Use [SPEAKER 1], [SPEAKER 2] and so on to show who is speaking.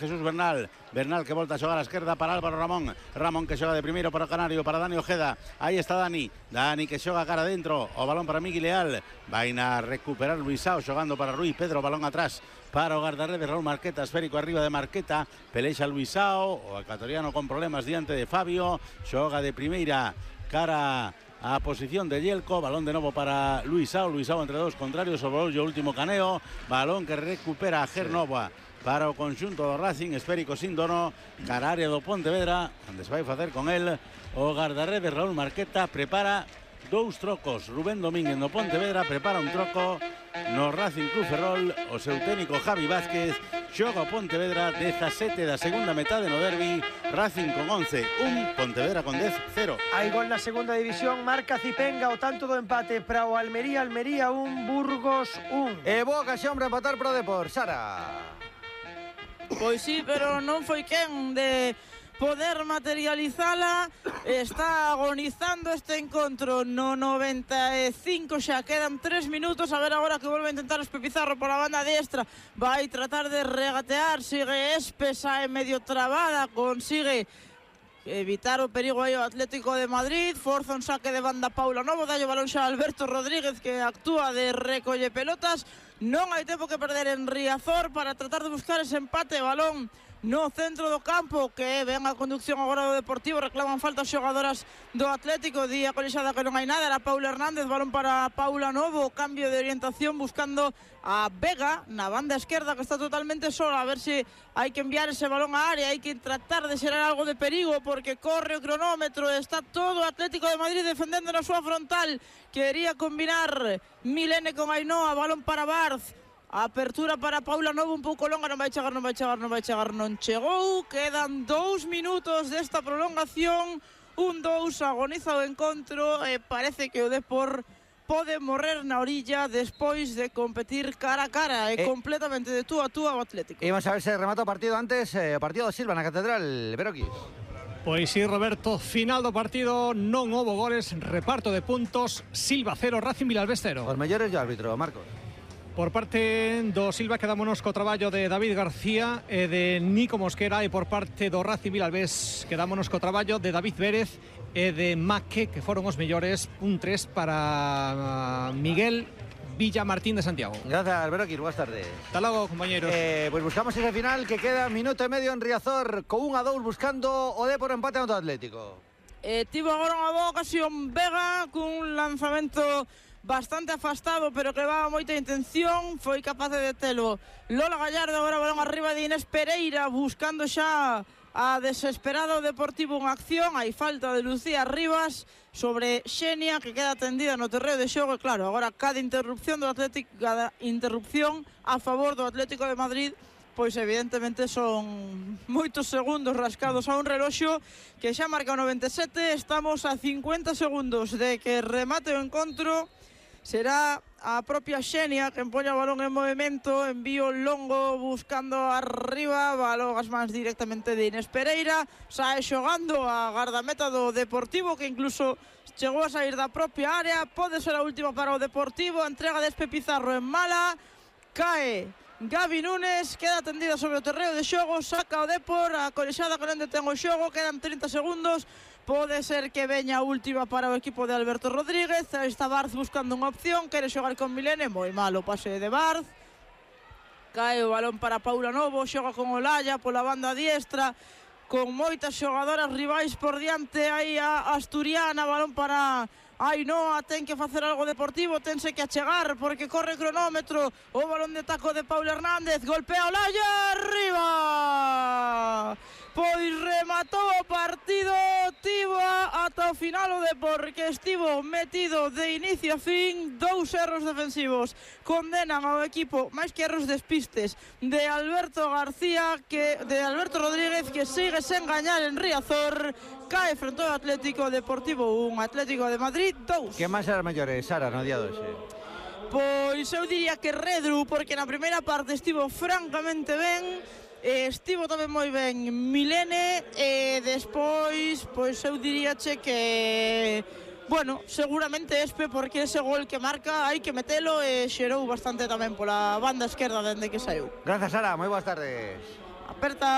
[SPEAKER 1] Jesús Bernal, Bernal que volta a xogar a esquerda para Álvaro Ramón, Ramón que xoga de primeiro para o Canario, para Dani Ojeda, aí está Dani, Dani que xoga cara dentro, o balón para Miguel Leal, vai na recuperar Luisao xogando para Rui Pedro, balón atrás para o guardarredes Raúl Marqueta, esférico arriba de Marqueta, pelexa Luisao, o ecuatoriano con problemas diante de Fabio, xoga de primeira cara a posición de Yelko, balón de novo para Luisao, Luisao entre dos contrarios, sobre o último caneo, balón que recupera a Gernova para o conxunto do Racing, esférico sin dono, cara área do Pontevedra, onde se vai facer con el o guardarredes Raúl Marqueta, prepara dous trocos, Rubén Domínguez no Pontevedra prepara un troco no Racing Club Ferrol, o seu técnico Javi Vázquez, xoga o Pontevedra 17 da segunda metade no derbi, Racing con 11-1, Pontevedra con 10-0.
[SPEAKER 2] Hai gol na segunda división, marca Cipenga o tanto do empate para o Almería, Almería 1, Burgos 1.
[SPEAKER 3] E boa ocasión para empatar pro Depor, Sara.
[SPEAKER 4] Pois sí, pero non foi quen de poder materializala. Está agonizando este encontro no 95, xa quedan 3 minutos. A ver agora que volve a intentar Espe Pizarro por a banda diestra, vai tratar de regatear, sigue Espe, sae medio trabada, consigue evitar o perigo aí o Atlético de Madrid, forza un saque de banda Paula Novo, dalle o balón xa a Alberto Rodríguez que actúa de recolle pelotas. Non hai tempo que perder en Riazor para tratar de buscar ese empate, balón no centro do campo, que ven a conducción agora do Deportivo, reclaman falta as xogadoras do Atlético, día colixada que non hai nada, era Paula Hernández, balón para Paula Novo, cambio de orientación buscando a Vega na banda esquerda que está totalmente sola, a ver se hai que enviar ese balón á área, hai que tratar de xerar algo de perigo porque corre o cronómetro, está todo o Atlético de Madrid defendendo na súa frontal, quería combinar Milene con Ainhoa, balón para Barz, apertura para Paula Novo un pouco longa, non vai chegar, non chegou, quedan 2 minutos desta prolongación, 1-2, agoniza o encontro e parece que o Depor pode morrer na orilla despois de competir cara a cara e completamente de tú a tú ao Atlético.
[SPEAKER 3] Imos a ver se remata o partido antes, o partido do Silva na Catedral, Beroquis.
[SPEAKER 5] Pois sí, Roberto, final do partido, non houbo goles, reparto de puntos, Silva 0, Racing Vilalbés 0.
[SPEAKER 3] Os mellores do árbitro, Marcos.
[SPEAKER 5] Por parte do Silva quedámonos co traballo de David García e de Nico Mosquera, e por parte do Racing Vilalbés quedámonos co traballo de David Vérez e de Maque, que foron os mellores. Un 3 para Miguel Villa Martín de Santiago.
[SPEAKER 3] Gracias, Beroquis, boas tardes.
[SPEAKER 5] Hasta logo, compañeros.
[SPEAKER 3] Pues buscamos ese final que queda minuto e medio en Riazor, con 1-2 buscando o Depor empate ante o Atlético.
[SPEAKER 4] Tivo agora unha boa ocasión Vega cun lanzamento bastante afastado, pero que levaba moita intención, foi capaz de detelo Lola Gallardo, agora balón arriba de Inés Pereira, buscando xa a desesperado Deportivo en acción, hai falta de Lucía Rivas sobre Xenia, que queda tendida no terreo de xogo, e claro, agora cada interrupción do Atlético, cada interrupción a favor do Atlético de Madrid, pois evidentemente son moitos segundos rascados a un reloxo que xa marca o 97, estamos a 50 segundos de que remate o encontro. Será a propia Xenia que empoña o balón en movimento, envío longo buscando arriba, balón as mans directamente de Inés Pereira, sae xogando a gardameta do Deportivo, que incluso chegou a sair da propia área, pode ser a última para o Deportivo, a entrega de Espe Pizarro en mala, cae Gaby Núñez, queda tendida sobre o terreo de xogo, saca o Depor, a colexada con onde ten o xogo, quedan 30 segundos, pode ser que veña a última para o equipo de Alberto Rodríguez, está Barz buscando unha opción, quere xogar con Milene, moi malo pase de Barz, cae o balón para Paula Novo, xoga con Olaya pola banda diestra, con moitas xogadoras rivais por diante, aí a asturiana, balón para Ainhoa, ten que facer algo Deportivo, tense que achegar porque corre cronómetro, o balón de taco de Paula Hernández, golpea Olaya, arriba! Pois rematou o partido, tivo ata o final o Depor, que estivo metido de inicio a fin, 2 erros defensivos condenan ao equipo, máis que erros despistes, de Alberto Rodríguez, que sigue sen gañar en Riazor, cae frente ao Atlético Deportivo 1, Atlético de Madrid 2.
[SPEAKER 3] Que máis eran mellores, Sara, no día doxe?
[SPEAKER 4] Pois eu diría que Redru, porque na primeira parte estivo francamente ben, estivo tamén moi ben Milene, e despois, pois eu diríache que, bueno, seguramente Espe, porque ese gol que marca hai que metelo, e xerou bastante tamén pola banda esquerda dende que saiu.
[SPEAKER 3] Gracias, Sara, moi boas tardes.
[SPEAKER 4] Aperta.